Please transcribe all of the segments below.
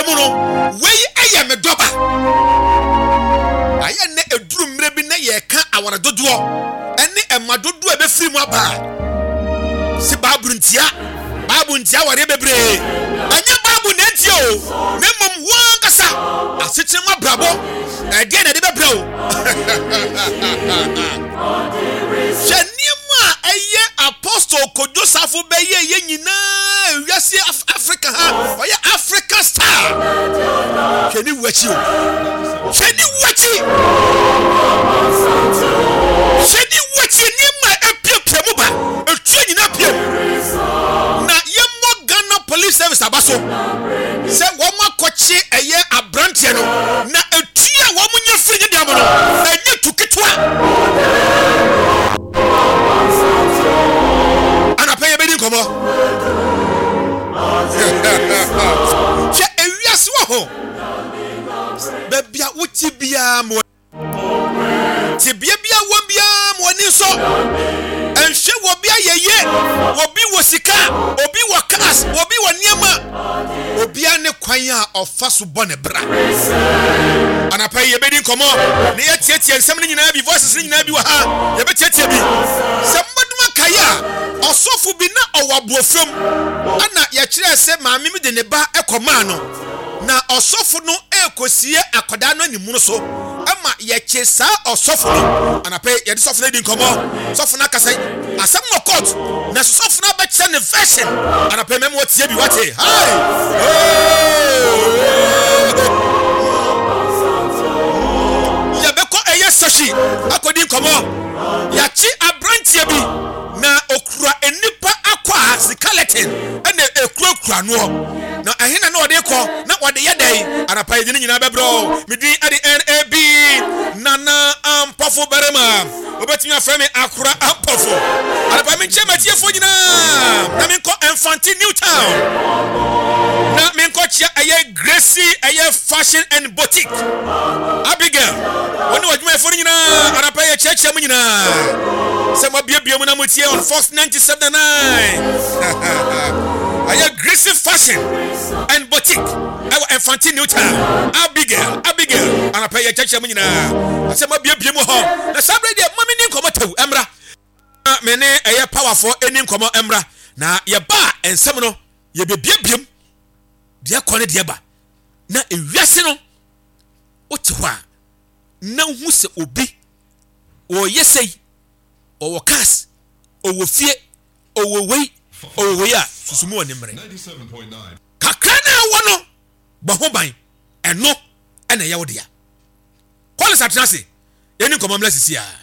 mu no, wei yɛ me dɔba. Ayɛ nnɛ ɛduru mmerɛ bi na yɛreka aware dodoɔ ɛne ɛma dodoɔ a ɛbɛfiri mu aba a, se Bible ntia, Bible ntia awareɛ bebree. Ɛnyɛ Bible na ɛntia o, na mmom wo ankasa asetena mu abrabɔ, ɛdeɛ na ɛde bɛbrɛ wo. Hwɛ nneɛma a ɛyɛ Apostle Kojo Safo bɛyɛ yɛ nyinaa wiase Africa ha ɔyɛ Africa star. Hwɛ ne wu akyi o. Hwɛ ne wu akyi. Hwɛ ne wu akyi nneɛma a epiapia mu ba etuo nyinaa pie mu. Na yɛmmɔ Ghana Police Service aba so sɛ wɔn akɔkye ɛyɛ aberanteɛ no na etuo a wɔn nya firi ne dan mu no ɛnyɛ tu ketewa. Anapa yɛbɛdi nkɔmmɔ. Hwɛ ewiase wɔ hɔ. Baabi a wote biara ma tebea bi a wɔ biara ma w'ani nsɔ. Nhwɛ wɔ bi ayɛyɛ, obi wɔ sika, obi wɔ cars, obi wɔ nneɛma. Obiara ne kwan a ɔfa so bɔ ne bra. Anapa yi yɛbɛdi nkɔmmɔ na yɛatiatia nsɛm no nyinaa bi, voices no nyinaa bi wɔ ha, yɛbɛtiatia bi. Sɛ mobɛdom akae a, ɔsɔfo bi na ɔwɔ aboɔfam, ɛna yɛkyerɛɛ sɛ maame bi de ne ba kɔmaa no, na ɔsɔfo no rekɔsie akwadaa no animono so ma yɛkye saa ɔsɔfo no. Anapa yi yɛde sɔfo no adi nkɔmmɔ, sɔfo no akasa Asɛm wɔ court na sɔfo no abɛkyerɛ ne version anapɛ mɛma watie bi wate hai yɛbɛkɔ ɛyɛ sahyi akɔdi nkɔmmɔ yɛakye aberanteɛ bi na okura nnipa akɔ a skeleton ɛna ekurakura noɔ na ɛhe na na ɔde kɔ na ɔde yɛ dɛn anapa yɛde ne nyinaa bɛbrɛ o medin ɛde nab nana ampɔfo barima Wobɛtumi afrɛ me Akora Ampɔfo. Anɔpa menkyɛ m'atiefoɔ nyinaa na menkɔ Mfante New Town na menkɔkyea ɛyɛ Gracie ɛyɛ Fashion and Boutique. Abigail, wo ne w'adwumayɛfoɔ no nyinaa anɔpa yɛ kyerɛkyerɛ mu nyinaa sɛ moabiebie mu na motie on Fox 97.9. Ɛyɛ Gracie Fashion and Boutique. ɛwɔ Mfante New Town. Abigail, Abigail, anɔpa yi yɛkyerɛkyerɛ mu nyinaa asɛm abiebie mu hɔ. Na saa berɛ deɛ ma menni nkɔmmɔ tɛw mmra. Na me ne ɛyɛ powerfoɔ ɛni nkɔmmɔ mmra. Na yɛba a nsɛm no yɛbɛbiebiem deɛ kɔ ne deɛ ba. Na ewiase no wote hɔ a na wohu sɛ obi ɔyɛ sei, ɔwɔ cars, ɔwɔ fie, ɔwɔ wei, ɔwɔ wei a susu mu wɔ ne mmerɛ. Kakra no a wowɔ no, bɔ ho ban. Ɛno na ɛyɛ wo dea. Collins atena ase. Yɛnni nkɔmmɔ mmra sisi ara.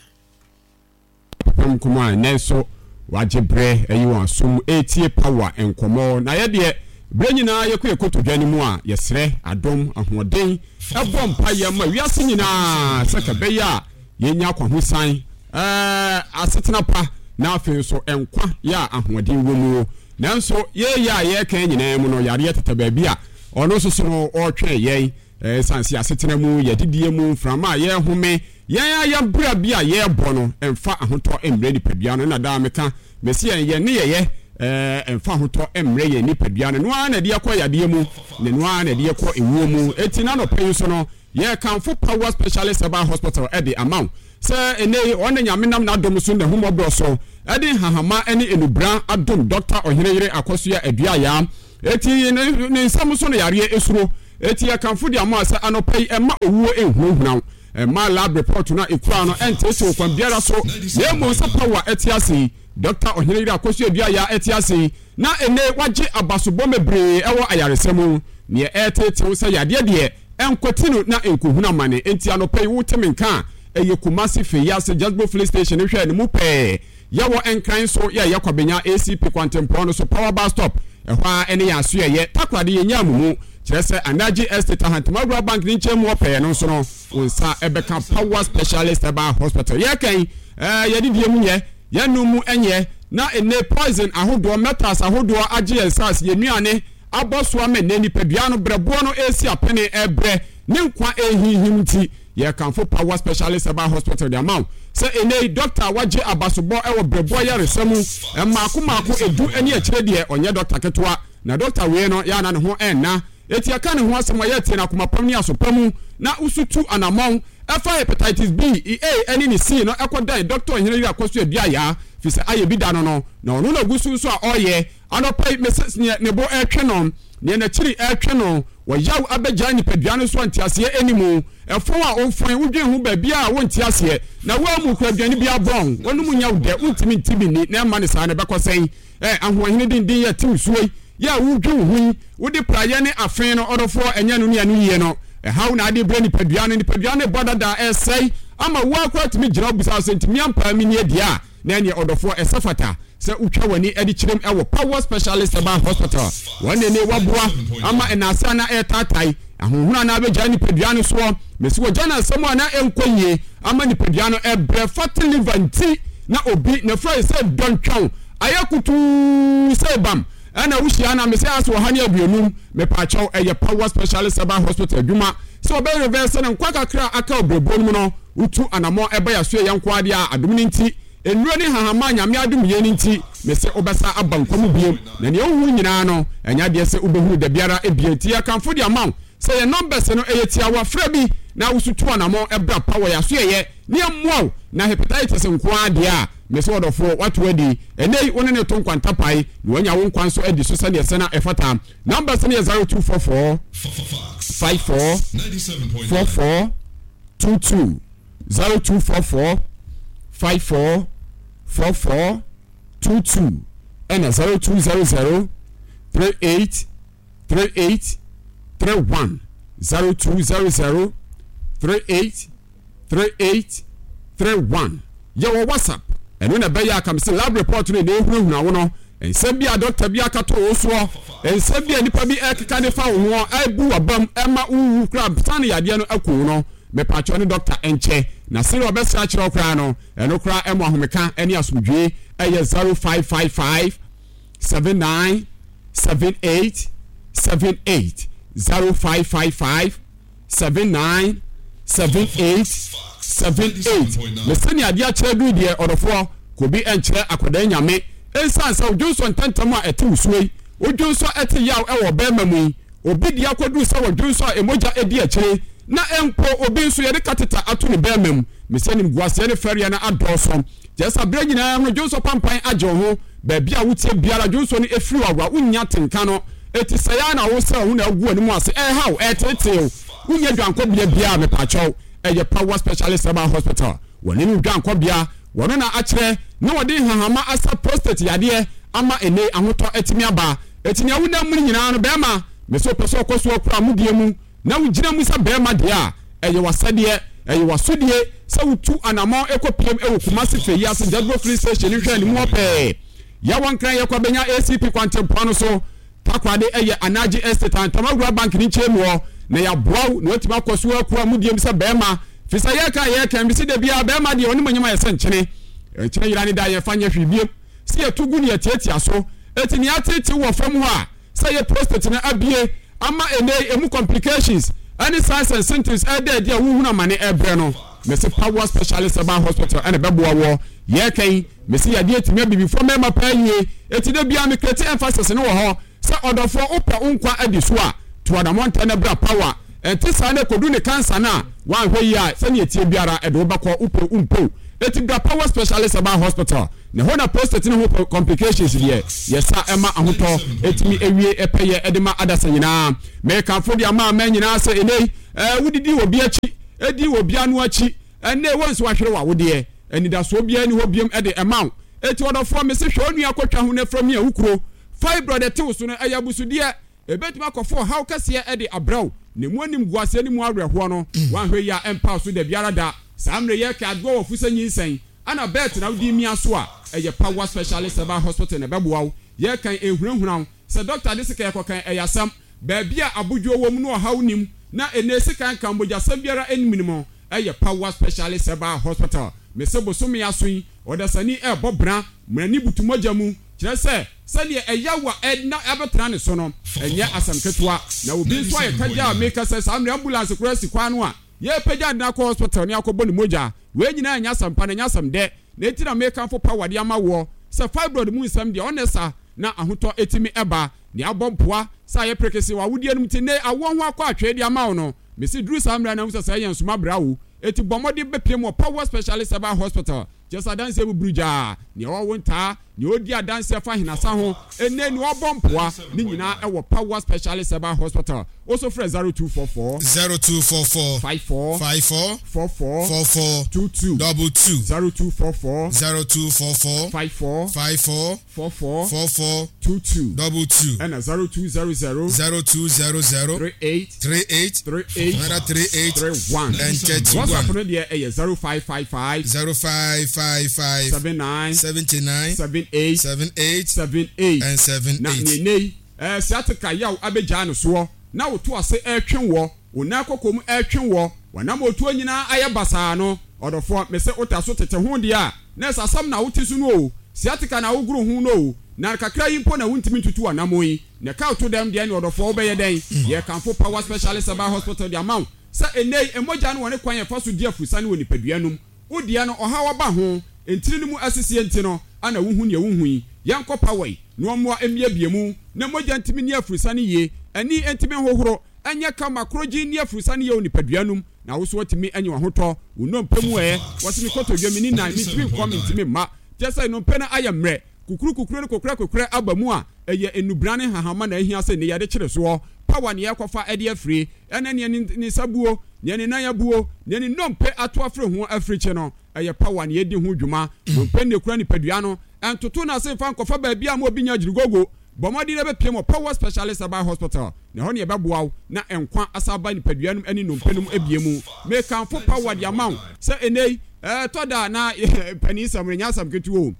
Papa nkɔmmɔ a ɛnnɛ nso wagye berɛ ayi wɔn asom retie Power nkɔmmɔ. Na yɛ deɛ, berɛ nyinaa yɛkɔ yɛn kotodwe no mu a, yɛsrɛ adom, ahoɔden, bɔ mpaeɛ ma wiase nyinaa sɛ ka ɛbɛyɛ a yɛnya akwahosan, asetena pa, na afei nso nkwa yɛ a ahoɔden wɔ mu. Nanso yei a yɛreka yi nyinaa mu no, yareɛ tetɛ baabi a ɔno nso so no ɔretwɛn yɛn. Ɛsiane sɛ asetena mu, yɛn adidie mu, mframa a yɛrehome, yɛn ara yɛn bra bi a yɛrebɔ no mfa ahotɔ mmrɛ nipadua no. Ɛna daa meka, mese yɛn yɛn nneyɛeɛ mfa ahotɔ mmrɛ yɛn nipadua no. Ɛno ara na ɛde yɛkɔ yadeɛ mu, na ɛno ara na ɛde yɛkɔ ewuo mu. Enti n'anɔpa yi nso no, yɛrekamfo Power Specialist Herbal Hospital de ama wo. Sɛ ɛnnɛ yi ɔne Nyame nam n'adom so n'ahummɔborɔ so de nhahamma ne nnubra adom Dɔkta Ɔheneyere Akɔsoa Aduayaa eti ne ne nsam so no yareɛ esuro eti yɛkamfo de ama wo sɛ anɔpa yi mma owuo nhunahuna wo mma lab report no a ekura no nteetee wo kwan biara so na mmom sɛ power ɛte ase yi Dɔkta Ɔheneyere Akɔsoa Aduayaa ɛte ase yi na ɛnnɛ yi wagye abasobɔ mebree ɛwɔ ayaresa mu neɛ ɛreteetee wo sɛ yadeɛ deɛ Ɛnkwati no na ɛnkohunu amane. Enti anɔpa yi wote me nka a, ɛyɛ Kumasi Feyiase Jasbo Filling Station no hwɛ no mu pɛɛ. Yɛwɔ Nkran nso, yɛ ɛyɛ Kwabenya ACP kwantempɔn no so, Power Bus Stop, ɛhɔ ara ɛne yɛn asoɛeɛ. Takoradi yɛnyaa mo mu, kyerɛ sɛ Anaji Estate Ahantema Rural Bank no nkyɛn mu hɔ pɛɛ no nso no, wo nsa bɛka Power Specialist Herbal Hospital. Yɛreka yi, ɛɛ yɛn adidie mu nyɛ, yɛn nom mu nyɛ, na nnɛ poison ahodoɔ, metals ahodoɔ agye yɛn nsaase, yɛn nnuane, abɔ so ama nnɛ nipadua no berɛboɔ no resi apene rebrɛ ne nkwa rehinhim nti, yɛrekamfo Power Specialist Herbal Hospital de ama wo sɛ ɛnnɛ yi dɔkta a wagye abasobɔ wɔ berɛboɔ ayaresa mu mmaako mmaako edu ne akyire deɛ ɔnyɛ dɔkta ketewa na dɔkta wei no yɛ a na ne ho nna. Enti yɛka ne ho asɛm a, yɛretie no akoma pam ne aso pa mu, na woso tu anammɔn fa hepatitis B, A ne ne C no kɔdan Dɔkta Ɔhene Yere Akwasu Aduayaa, firi sɛ ayɛ bi da no no, na ɔno na ɔgu so nso a ɔreyɛ. Anɔpa yi, mese neɛ ne bo retwe no, neɛ n'akyiri retwe no, ɔyaw abɛgyae nipadua no so a nteaseɛ nni mu, ɛfɔn a ɔmfɔn, wodwen ho baabiara a wonte aseɛ, na woammu kora aduane biara bɔn, w'anom nyɛ wo dɛ, wontumi nte bi nni, na ɛmma no saa na ɛbɛkɔ sɛn? Ɛ, ahoɔhene denden yɛ tew suo yi, yɛ a wodwen wo ho yi, wode praeɛ ne afe no, ɔdɔfoɔ, ɛnyɛ ɛno ne ɛno yie no, ɛhaw na ade brɛ nipadua no, nipadua no rebɔ dada, ɛresɛe, ama wo ara koraa tumi gyina hɔ bisa wo sɛ, nti me ampa ara menni adi a? Na ɛneɛ ɔdɔfoɔ, ɛsɛ fata sɛ wotwa w'ani de kyerɛm wɔ Power Specialist Herbal Hospital. Wɔn na ɛnɛ wɔaboa ama nnaase a na ɛretaatae, ahonhono a na abɛgyae nipadua no soɔ, mese wɔgya no asɛm a na ɛnkɔ yie ama nipadua no ɛbrɛ, fatty liver nti na obi n'afura ayɛ sɛ dɔntwɔn, ayɛ kutuu sɛ bam, ɛna wohyia no a mese ase 150, mepaakyɛw ɛyɛ Power Specialist Herbal Hospital adwuma sɛ wɔbɛ reverse no nkwa kakra a aka wɔ brɛboɔ no mu no. Wotu anamɔn ɛba yasoɛ yɛ nkoaa deɛ a adom no nti, nnuro ne nhahamma a Nyame adom yɛn no nti, mese wobɛsa aba nkwa mu biom, na nea wohunu nyinaa no, ɛnyɛ adeɛ sɛ wobɛhunu dabiara bio, nti yɛkamfo de ama wo sɛ yɛn numbers no ɛyɛ tiawa, frɛ bi na woso tu anamɔn ɛbra pa wɔ yasoɛyɛ ne yɛmmoa wo, na hepatitis nkoaa deɛ a, mese ɔdɔfoɔ woato adi, ɛnɛ yi wo ne no to nkwantapae na wanya wo nkwa nso adi so sɛdeɛ ɛsɛ na ɛfata. Numbers no yɛ 0244 54 44 22 0244 54 44 22 ɛna 0200 38 38 31 0200 38 38 31 Yɛwɔ WhatsApp, ɛno na ɛbɛyɛ a ka me sɛ lab report no na ɛhunahuna wo no, nsɛm bi a dɔkta bi aka to wo soɔ, nsɛm bi a nipa bi ɛkeka de fa wo ho ɛbu w'abam ɛma wowu koraa sane yadeɛ no aku wo no, mepaakyɛw ne dɔkta nkyɛ na sɛdeɛ ɔbɛsrɛ akyerɛ wo koraa no, ɛno koraa ɛmo ahomeka ɛne asomdwie. Ɛyɛ 0555 79 78 78 0555 79 78 78 Me sɛnea adeɛ akyerɛ duru deɛ ɔdɔfoɔ kɔ bi nkyerɛ akwadaa nyame Ɛnsiane sɛ wodwonsɔ ntɛntɛm a ɛte wo suo yi Wodwonsɔ ɛte yaw ɛwɔ ɔbarima mu yi Obi deɛ akɔduru sɛ wɔdwonsɔ a ɛmogya di akyire Na mpo obi nso yɛde catheter ato ne barima mu Me sɛ animguaseɛ ne fɛreɛ no adɔɔso Kyerɛ sɛ berɛ nyinaa no dwonsɔ pampan agye wo ho Baabi a woteɛ biara dwonsɔ no firi wo awoa wonnya atenka no Eti sɛe ara na wosɛe wo ho na agu w'anim ase ɛrehaw ɛreteetee wo Wonnya dwankɔbea biara mepaakyɛw ɛyɛ Power Specialist Herbal Hospital Wɔne no dwankɔbea wɔno na akyerɛ na wɔde nhahamma asa prostate yadeɛ ama ɛnnɛ yi ahotɔ atumi aba Eti nea wonam mu no nyinaa no bɛɛma mese wopɛ sɛ ɔkɔ so akura amudie mu na wogyina mu sɛ barima deɛ a, ɛyɛ w'asɛdeɛ, ɛyɛ w'asodie sɛ wotu anammɔn kɔ piem wɔ Kumasi Fɛ yi ase Jadro Filling Station no nhwɛanimu hɔ pɛɛ. Yɛwɔ Nkran yɛkɔ abɛnya ACP kwantempɔn no so, Takoradi ɛyɛ Anagye Estate a Ntamawura Bank no nkyɛn mu hɔ, na yɛaboa wo na woatumi akɔ so akura mudie mu sɛ barima, firi sɛ yɛreka a yɛreka yi, mese da biara barima deɛ ɔne manyam ayɛ sɛ nkyene, nkyene yera ne da a yɛmfa nyɛ hwee biom, sɛ yɛto gu ne yɛtiatia so, enti nea ateetew wɔ fam hɔ a. sɛ yɛ prostate no abue ama ɛnnɛ yi emu complications ɛne signs and symptoms ɛreda adi a wohunu amane ɛrebrɛ no. Mese Power Specialist Herbal Hospital ɛna ɛbɛboa woɔ. Yɛreka yi, mese yadeɛ tumi abibifoɔ mmarima paa yie, eti da biara me create emphasis no wɔ hɔ sɛ ɔdɔfoɔ wopɛ wo nkwa adi so a, tu anamɔ ntɛm na bra Power. Ɛnte saa na ɛkɔdu ne cancer no a, woanhwɛ yie a sɛdeɛ ɛteɛ biara ɛde wo bɛkɔ, wopɛ o wompɛ o. Eti bra Power Specialist Herbal Hospital. Na ɛhɔ na prostate no ho complications deɛ yɛsa ɛma ahotɔ ɛtumi ɛwie ɛpɛyɛ ɛde ma adasa nyinaa. Mekamfo de ama aman nyinaa sɛ ɛnɛ yi ɛɛ wodidi wɔ bi akyi ɛdi wɔ bi ano akyi ɛnɛ wɔn nso wahwere w'awodeɛ anidasoɔ biara ni hɔ biom ɛde ɛma wo. Eti ɔdɔfoɔ mese hwɛ onua kɔtwa ho na fira mia wo kuro. Fibroid ɛte wo so no ɛyɛ abusudeɛ. Ebetumi akɔfa ɔhaw kɛseɛ de abrɛ wo, na emu animguaseɛ ne mu awerɛhoɔ no, woanhwɛ yie a ɛmpa wo so dabiara da. Saa mmerɛ yi ɛka adoɔ wɔ fo sɛ nyinsɛn, ana bɛɛt na wode mia so a, ɛyɛ Power Specialist Herbal Hospital na ɛbɛboa wo. Yɛrekan ɛnhunahuna wo, sɛ dɔkta de sekan kɔkan ɛyɛ asɛm. Baabi a abodwoɔ wɔ mu na ɔhaw nnim, na ɛnnɛ sekan nka mogyasɛm biara nnim no, ɛyɛ Power Specialist Herbal Hospital. Mese bosome aso yi, ɔdasani ɛrebɔ bra, mmerɛ butu mogya mu, kyerɛ sɛ, Sɛdeɛ ɛyaw a ɛna abɛtena ne so no, ɛnyɛ asɛm ketewa. Na obi nso ayɛ kagya a meka sɛ saa mmerɛ ambulance koraa si kwan no a, yɛrepagya no akɔ hospital ne akɔbɔ ne mogya. Wei nyinaa nyɛ asɛm pa na ɛnyɛ asɛm dɛ. Na enti na mekamfo power de ama woɔ sɛ fibroid mu nsɛm deɛ ɔnnɛ sa na ahotɔ tumi ba. Nea abɔ mpoa sɛ ayɛ prekese wɔ awodeɛ no mu te nnɛ yi awoɔ ho akɔ atwee de ama wo no, mese duru saa mmerɛ no na wohu sɛ sɛɛ yɛ nsoma bra o. Eti bɔ mmɔden bɛpiem wɔ Power Specialist Herbal Hospital, kyerɛ sɛ adanseɛ buburu gyaa, nea ɔwɔ ntaa, nea ɔdi adanseɛ fa ahinasa ho, nnɛ nea ɔbɔ mpoa, ne nyinaa ɛwɔ Power Specialist Herbal Hospital. Wo so frɛ 0244. 0244. 54. 54. 44. 44. 22. 22. 0244. 0244. 54. 54. 44. 44. 22. 22. Ɛna 0200. 0200. 38. 38. 38. Another 38. 31. And 31. WhatsApp no deɛ ɛyɛ 0555. 0555. 79. 79. 78. 78. 78. And 78. Na nea ɛnnɛ yi, ɛɛ sciatica yaw abɛgyaa no soɔ, na wo to ase ɛretwe woɔ, wo nan kɔkɔ mu ɛretwe woɔ, w'anammɔntuo nyinaa ayɛ basaa no, ɔdɔfoɔ, mese wota so tete ho deɛ a, na ɛsɛ asɛm na wote so no o, sciatica na wogoro ho no o, na kakra yi mpo na wontumi ntutu w'anammɔn yi, na ɛka wo to dɛm deɛ ne ɔdɔfoɔ wobɛyɛ dɛn? Yɛrekamfo Power Specialist Herbal Hospital de ama wo sɛ ɛnnɛ yi, mogya no wɔ ne kwan a ɛfa so di afurusane wɔ nipadua no mu. Wo deɛ no ɔhaw aba ho, ntini no mu asisie nti no ana wuhu nea wuhu yi? Yɛnkɔ Poway na wɔmmoa mmiabie mu na mogya ntumi nni afurusane yie, ani ntumi nhohoro, ɛnyɛ kama, korogyen nni afurusane yie wɔ nipadua no mu na wo nso woatumi anya w'ahotɔ, wo nnompe mu ɛ, wɔse me kotodwe, menni nan, mentumi nkɔ, mentumi mma, kyerɛ sɛ nnompe no ayɛ mmerɛ, kukuru kukuru ne kokorɛ kokorɛ aba mu a, ɛyɛ nnubran ne nhahamma na ahia sɛ nnɛ yɛde kyere soɔ. Power na yɛrekɔfa de afiri, ɛne nea ne nsa buo, nea ne nan abuo, nea ne nnompe ato afiri ho afirikyi no, ɛyɛ power na yɛdi ho dwuma. Nnompe na ɛkura nipadua no. Ɛntoto no ase mfa nkɔfa baabi a ma obi nya agyirigogo. Bɔ mmɔden na bɛpiem wɔ Power Specialist Herbal Hospital, na ɛhɔ na yɛbɛboa wo na nkwa asan aba nipadua no mu ne nnompe no mu abue mu. Mekamfo Power de ama wo sɛ ɛnnɛ yi, ɛtɔ da a na panin sɛm no nyɛ asɛm ketewa o.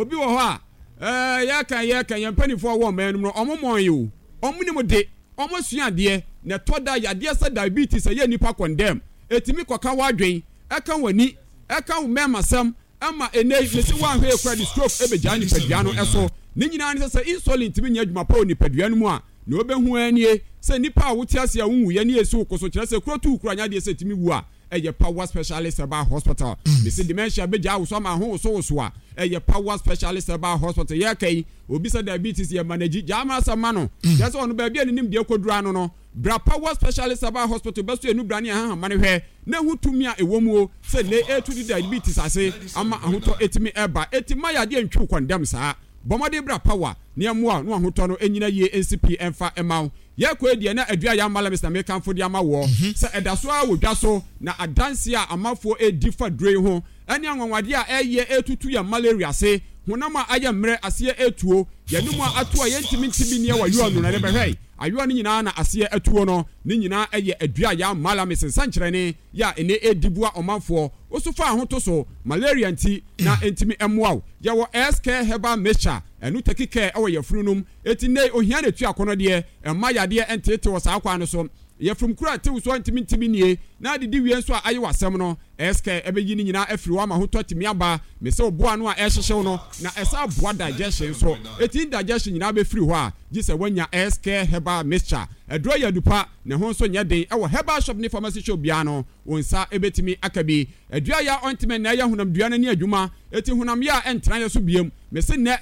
Obi wɔ hɔ a, ɛɛ, yɛka yɛka yɛn mpanimfoɔ a wɔwɔ ɔman no mu no, wɔn mmɔn yi o, wɔn nim de, wɔn asua adeɛ, na ɛtɔ da yadeɛ sɛ diabetes ɛyɛ nnipa kɔndɛm, ɛtumi kɔka w'adwen, ɛka w'ani, ɛka wo mmɛɛmasɛm, ɛma ɛnnɛ yi, mese woanhwɛ yie koraa de stroke ɛbɛgyaa nipadua no so. Ne nyinaa ne sɛ, sɛ insulin tumi nyɛ adwuma pa wɔ nipadua no mu a, nea wobɛhu ara nie, sɛ nnipa a wote ase a wonwuiɛ ne ɛsi wo ko so, kyerɛ sɛ kuro tu wo koraa nyɛ adeɛ sɛ ɛtumi wu a, ɛyɛ Power Specialist Herbal Hospital. Mese dementia bɛgyaa wo so ama ho wosowoso a, ɛyɛ Power Specialist Herbal Hospital. Yɛreka yi, obi sɛ diabetes yɛ manage, gyaa ma asɛm ma no. Kyerɛ sɛ ɔno baabi a ne nimdeɛ kɔduru ano no, bra Power Specialist Herbal Hospital bɛso yɛn nubra ne yɛn hahama no hwɛ na hu tumi a ɛwɔ mu o, sɛ nnɛ ɛretu de diabetes ase ama ahotɔ atumi ɛreba. Enti mma yadeɛ ntwi wo kɔndɛm saa. Bɔ mmɔden bra Power na yɛmmoa wo na w'ahotɔ no nnyina yie nsi pii mfa mma wo. Yɛrekɔ yi deɛ na Adua Yam Malamis na mekamfo de ama woɔ sɛ ɛda so ara wɔ dwa so na adanseɛ a amanfoɔ redi fa duro yi ho ne anwanwadeɛ a ɛreyɛ retutu yɛn malaria ase, honam a ayɛ mmerɛ aseɛ retuo, yɛn anomu a ato a yɛntumi nte bi nneɛ wɔ ayowa no na yɛbɛhwɛ ayowa no nyinaa na aseɛ atuo no ne nyinaa yɛ Adua Yam Malamis nsɛnkyerɛnne yɛ a ɛnnɛ ɛredi boa ɔmanfoɔ. Wo so fa ho to so, malaria nti na ɛntumi mmoa wo. Yɛwɔ S-Care Herbal Mixture, ɛno taki care wɔ yafunu nom. Enti nnɛ yi ohia na etu akɔnnɔ deɛ, mma yadeɛ nteetee wɔ saa kwan no so. Yafunu kuru a ɛte wo so a ntumi nte bi nie, na adidi wie nso a aye w'asɛm no, S-Care ɛbɛyi ne nyinaa afiri hɔ ama ahotɔ atumi aba. Mese wo boa ano a ɛrehyehye wo no, na ɛsan boa digestion nso. Enti indigestion nyinaa bɛfiri hɔ a, gye sɛ woanya S-Care Herbal Mixture. Aduro yɛ adu pa, ne ho nso nyɛ den. Ɛwɔ herbal shop ne pharmacy shop biara no, wo nsa bɛtumi aka bi. Adua yɛ a ɔntumi nnɛ yɛ honamdua no ani adwuma, enti honam yɛ a ɛntena yɛ so biom. Mese nnɛ.